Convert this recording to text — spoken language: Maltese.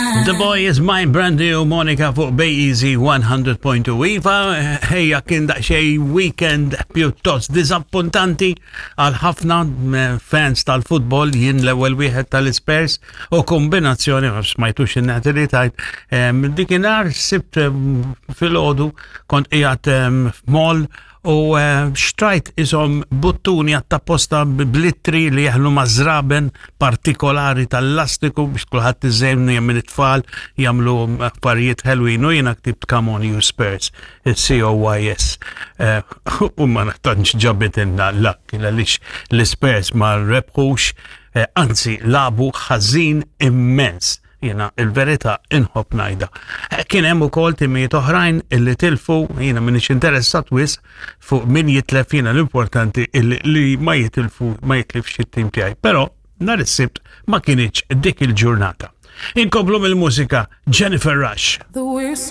mine. The Boy is Mine, Brandy u Monica fuq Bay Easy 100.2. Iva, ejja kien daqsxejn weekend pjuttost diżappuntanti għal ħafna eh, fans tal-futbol jien l-ewwel wieħed tal-Spurs u kombinazzjoni ma smajtux in-nati li tajt. Dikinhar sibt filgħodu kont qiegħed f'mall u eh, xtrajt isom buttuni għattapposta blittri li jeħlu ma' żraben partikolari tal-lastiku biex kulħadd iżejnu minn it-tfal jagħmlu affarijiet ħelwin u jiena ktibt Come on you Spurs, il-COYS. Eh, u ma tantx ġabit inna l-lak għaliex l-Spurs ma rebħux, eh, anzi labu ħażin immens. Jiena il-verità inħobb ngħidha. Eh, kien hemm ukoll timijiet oħrajn illi tilfu, jiena m'iniex interessat wisq fuq min jitlef jiena l-importanti illi li ma jitilfu ma jitlifx it-tim tiegħi. Però nhar is-Sibt ma kienx dik il-ġurnata. Inkomplu mill-mużika Jennifer Rush. The worst